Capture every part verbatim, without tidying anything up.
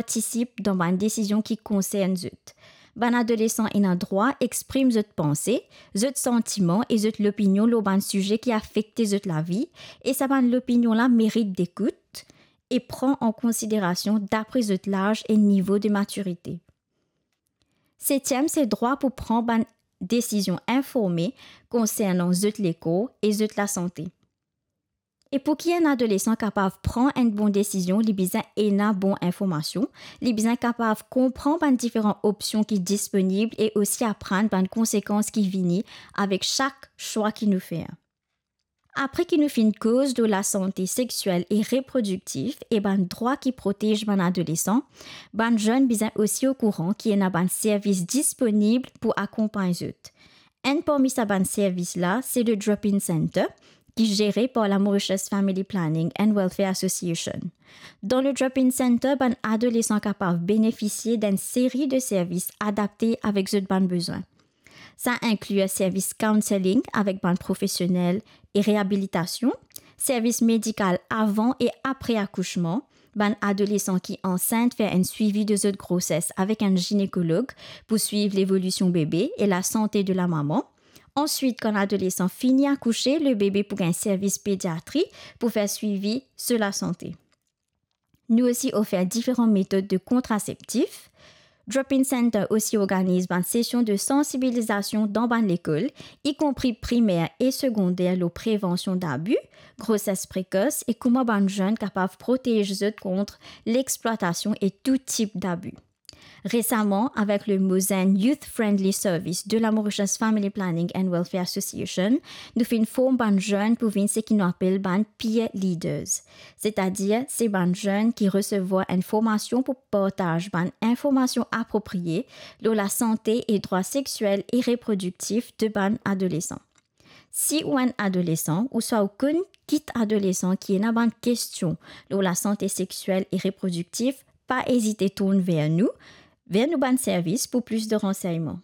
partisip dan bann desizion ki konsern zot. Bann adolesan ena drwa exprim zot panse, zot santiman e zot lopinion lor bann size ki afekte zot lavi, e sa bann lopinion la merit dekout e pran an konsiderasion dapre zot laz e nivo de matirite. Setiem, se drwa pou pran bann desizion informe konsernan zot lekor e zot lasante. E pou ki enn adolesan kapav pran enn bon desizion, li bizin ena bon informasion, li bizin kapav konpran bann diferan opsion ki disponib e osi aprann bann konsekans ki vini avek sak swa ki nou fer. Apre ki nou finn koz lor lasante sexiel e reprodiktif e bann drwa ki protez bann adolesan, bann zenn bizin osi okouran ki ena bann servis disponib pou akonpagn zot. Enn parmi sa bann servis la, se le Drop-In Center, ki zere par la Mauritius Family Planning and Welfare Association. Dan le Drop-In Center, bann adolesan kapav benefisie d'enn seri de servis adapte avek zot bann bezwin. Sa inkli servis counselling avek bann profesionel e reabilitasion, servis medikal avan e apre akousman, bann adolesan ki ansint fer enn swivi de zot groses avek enn zinekolog pou swiv levolision bebe e lasante de lamama. Answit, kan adolesan fini akouse, le bebe pou gagn servis pediatri pou fer swivi so lasante. Nou osi ofer diferan metod de kontraseptif. Drop-In Center osi organiz bann sesion de sansibilizasion dan bann lekol, ikonpri primer e segonder, lor prevansion dabi, groses prekos e kouma bann zenn kapav protez zot kont lexplwatasion e tou tip dabi. Resaman, avek le Mozenn Youth Friendly Service de la Mauritius Family Planning and Welfare Association, nou finn form bann zenn pou vinn seki nou apel bann peer leaders. Setadir, se bann zenn ki resevwar enn formasion pou partaz bann informasion apropriye lor lasante e drwa sexiel e reprodiktif de bann adolesan. Si ou enn adolesan ouswa ou konn kit adolesan ki ena bann kestion lor lasante sexiel e reprodiktif, pa ezite tourn ver nou, ver nou bann servis pou plis de ransegnman.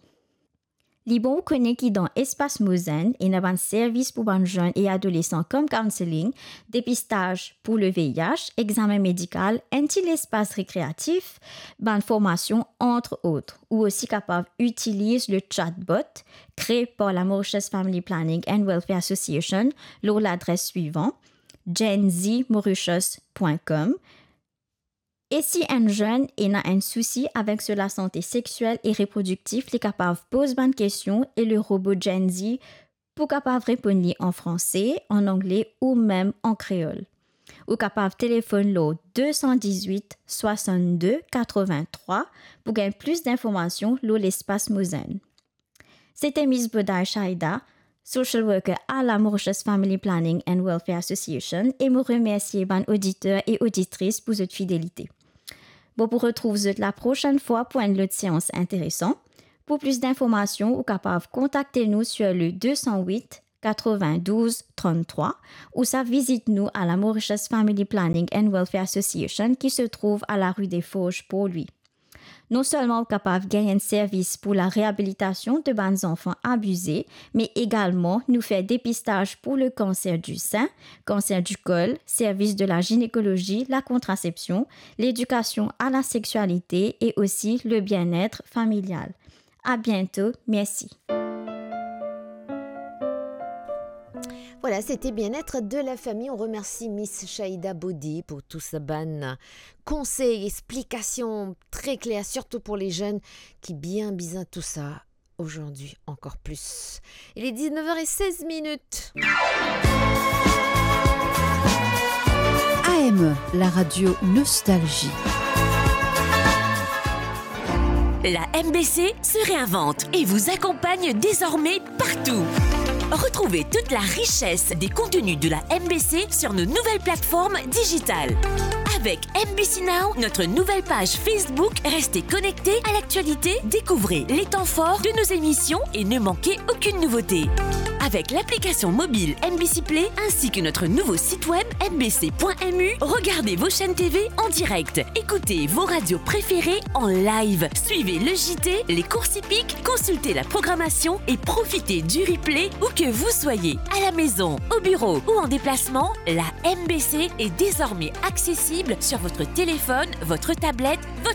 Li bon ou kone ki dan Espas Mozenn ena bann servis pou bann zenn e adolesan kom counselling, depistaz pou le V I H, examen medikal, enn ti lespas rekreatif, bann formasion, entre autres. Ou osi kapav itiliz le chatbot kre par la Mauritius Family Planning and Welfare Association lor ladres swivan, gen z mauritius point com. E si enn zenn ena enn sousi avek so lasante sexiel e reprodiktif, li kapav poz bann kestion e le robo Gen Z pou kapav reponn li an franse, an angle ou mem an kreol. Ou kapav telefonn lor de san dizwit, swasann-de, katrovin-trwa pou gagn plis dinformasion lor Lespas Mozenn. Sete Miss Boday Shaida, social worker à la Mauritius Family Planning and Welfare Association, e mo remersie bann oditer e oditris pou zot fidelite. Mo pou retrouv zot laprosenn fwa pou enn lot seans interesan. Pou plis dinformasion, ou kapav kontakte nou sur le de san wit, katrovin-douz, tranntrwa, ouswa vizit nou à la Mauritius Family Planning and Welfare Association ki se trouv à la rue des Forges, Port-Louis. Non selman ou kapav gagn enn servis pou la reabilitasion de bann zanfan abize, me egalman nou fer depistaz pou le kanser di sin, kanser di kol, servis de la ginekolozi, la kontrasepsion, ledikasion à la sexialite e osi le bien-être familial. À bientôt, merci. Voilà, c'était Bien-être de la famille. On remercie Miss Shaida Bodi pour tout sa bann konsey, explikasion tre kler, sirtou pou le zenn ki bien bizin tou sa aujourd'hui encore plus. Il est dix-neuf heures et seize minutes. A M E, la radio Nostalgie. La M B C se réinvente et vous accompagne désormais partout. Retrouvez toute la richesse des contenus de la M B C sur nos nouvelles plateformes digitales. Avec M B C Now, notre nouvelle page Facebook, restez connectés à l'actualité, découvrez les temps forts de nos émissions et ne manquez aucune nouveauté. Avec l'application mobile M B C Play ainsi que notre nouveau site web M B C point M U, regardez vos chaînes T V en direct. Écoutez vos radios préférées en live. Suivez le J T, les courses hippiques, consultez la programmation et profitez du replay où que vous soyez. À la maison, au bureau ou en déplacement, la M B C est désormais accessible disponible sur votre téléphone, votre tablette, votre